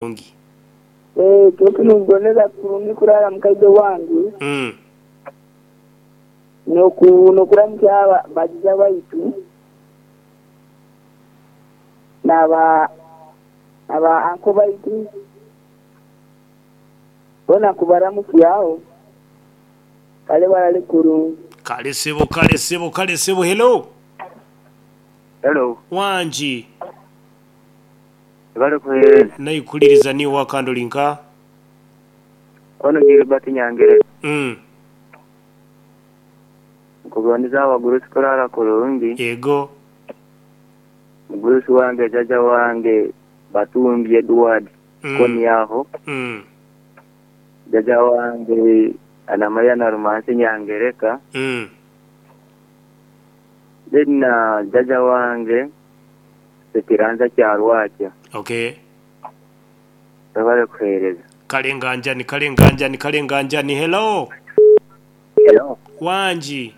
Kurungi. Eeh kyoka nikuboneza kurungi kurara mukazi owange nokuramukya bagiza baitu naba anko baitu bona nkubaramukyaho kale barare kurungi. Kale sebo kale sebo kale sebo hello. Hello. Wangi. Webale kuhereza. Naikuliriza niiwe wakandi oli nka? Ono Gilbert Nyangereka. Mm. Nkugondeza abagurusi kurara kurungi. Yego. Mugurusi wange jaja wange Batumbi Edward Mm. Koni aho. Mm. Jaja wange Anamaria Narumansi Nyangereka. Mm. Then na jaja wange Sekiranza Kyarwakya. Okay. Webale kuhereza. Kale nganjani kale nganjani kale nganjani hello. Hello. Wangi.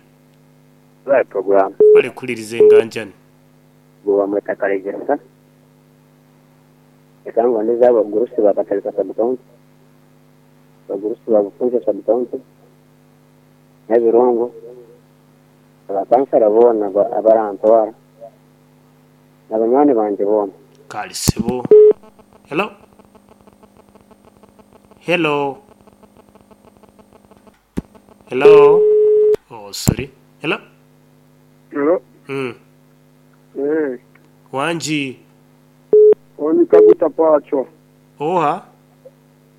Webale program. Webale kuhuliriza enganjani. Gwe bamweta Kalegesa. Leka ngondeze abagurusi ba Katalika Sub County, abagurusi ba Bufunjo Sub County, n'Ebirongo, abakansara boona abarantwara, na banywani bangye boona. Kale sebo. Hello. Hello. Hello. Oh, sorry. Hello. Hello. Mm. Eh, Wangi. oni Kaguta Pachwa. Oha.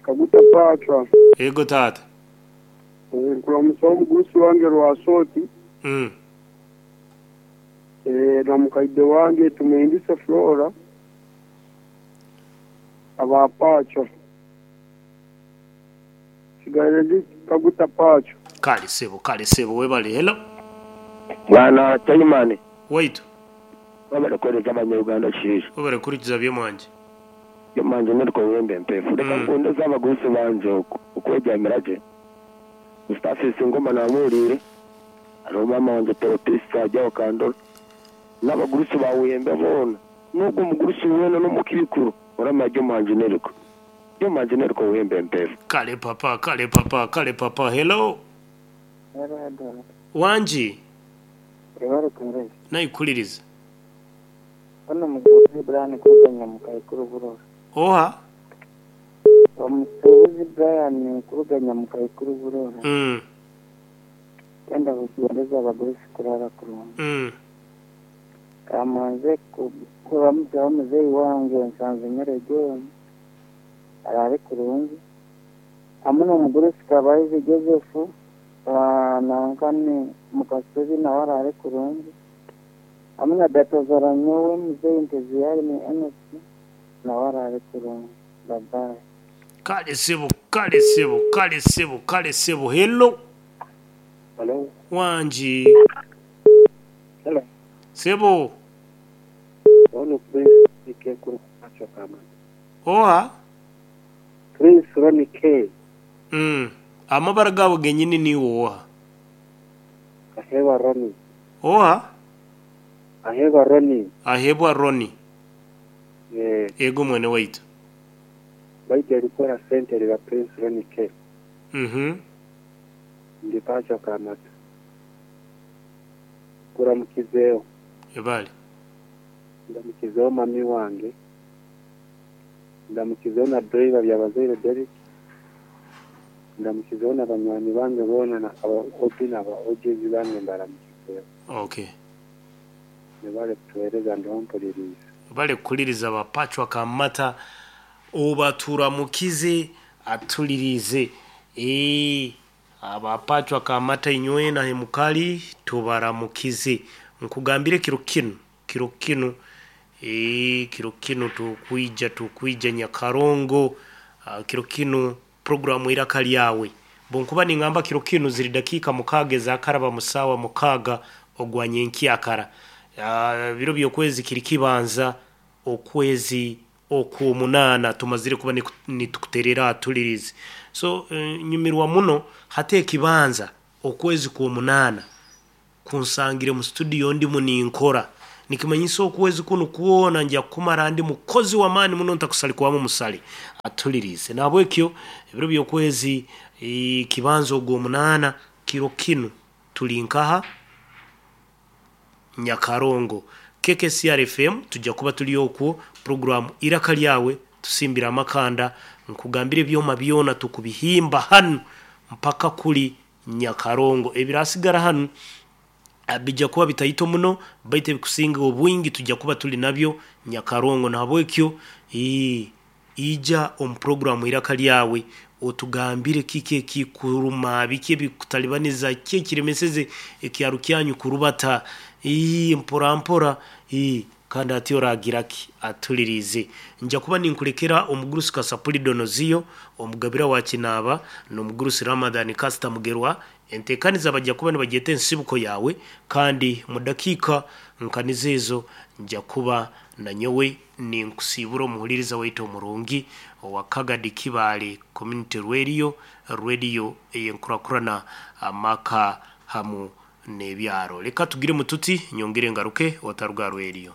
Kaguta Pachwa. Ego taata. Eh, nkulamusa omugurusi wange Rwasoti. Mm. Eh, na mukaide wange Tumwindise Flora. Aba Pachwa. Sigaire ndi Kaguta Pachwa. Kale sebo kale sebo webale. Hello. Bwana Chaimani Waitu. webale kuhereza abanya-Uganda kishaija. Webale kuhurikiza byomwangye. Byomwangye nirikowemba empefu. Reka nkundeze abagurusi bangye oku okwegyamira gye. Mustafis Ngoma namuhuriire, hariho maama wangye Teopista ari aho Kandora, n'abagurusi ba Buhembe boona, n'ogwo mugurusi weena n'omukirikuru oramanya Byomwangye Neriko. Byomwangye Neriko Buhembe empefu. Kale papa kale papa kale papa hello. Wangi. Webale kuhereza. Naikuliriza. Ono musuubuzi Brian kuruga Nyamukaikuru Burora. Oha. Omusuubuzi Brian kuruga Nyamukaikuru Burora. Mm. Twenda kugondeza abagurusi kurara kurungi. Kamanze kuramukyaho muzeeyi wange Nsanzimere John araare kurungi. Hamwe n'omugurusi Kabahizi Joseph nanka ni Mukasubi nawe araare kurungi. Hamwe na Datazara nyowe muzeeyi Nteziyaremye Enock nawe araare kurungi. Bye bye. Kale sebo kale sebo kale sebo kale sebo hello. Hello. Wangi. Hello. Sebo. Ono Prince K kuruga Pachwa Kamata. Oha. Prince Ronnie K. Mm. Amabara gaabo genyini niiwe oha? Ahebwa Ronnie. Oha? Ahebwa Ronnie. Ahebwa Ronnie. Eh, Ego mwene waitu. baitu erikora sente riba Prince Ronnie K. Mhm. Ndi Pachwa Kamata. Kuramukizeho. Ebale. Ndamukizeho mami wange. Ndamukizeho na driver Byabazaire Derrick. Ndamukizeho na banywani bange boona na aba OB na aba OGs bange mbaramukizeho. Okay. Nibale kutuhereza ndiho mpuliriza. Bale kukuliriza bapachwa Kamata obaturamukize atulirize. Ee abapachwa Kamata inywena hemukali tubaramukize. Nkugambire kiro kinu, kiro kinu ee kiro kinu tukwija tukwija Nyakarongo kiro kinu programu iraka lyawe. Bwonkuba ningamba kiro kinu ziri dakika mukaaga ezakaraba musawa mukaaga ogwa nyenkyakara. Biro by'okwezi kiri kibanza okwezi okwomunaana tumazire kuba nitukuterera atulirize. So nyumirwa muno hati ekibanza okwezi kwomunaana kunsangire mu studio ndimu ninkora. Nikimanyisa okwezi kunu kwona nja kumara ndi mukozi w'amaani muno ntakusalikwamu musale atulirize. Nahabwekyo ebiro by'okwezi kibanza ogw'omunaana kiro kinu tuli nkaha Nyakarongo KKCR FM tujja kuba tuli okwo program Iraka Lyawe tusimbira amakanda nkugambira ebyoma byona tukubihimba hanu mpaka kuli Nyakarongo ebirasigara hanu bijja kuba bitaito muno baitu ebikusinga obwingi tujja kuba tuli nabyo Nyakarongo. Nahabwekyo ija omu programu Iraka Lyawe otugambire kiki ekikuruma, biki ebikutalibaniza, ki ekiremeseze ekyaro kyanyu kurubata mpora mpora kandi ati oragira ki atulirize. Nja kuba ninkulekera omugurusi Kasapuli Donoziyo omugabira wa Kinaaba n'omugurusi Ramadhan Kasita Mugerwa entekaniza bajja kuba nibagyeta ensibuko yawe kandi mu dakiika nkanizo ezo nja kuba nanyowe ninkusiibura omuhuliriza waitu omurungi owa Kagadi Kibaale Community Radio, radio ey'enkurakurana amaka hamu n'ebyaro. Leka tugire mututi nyongere ngaruke otaruga rweriyo.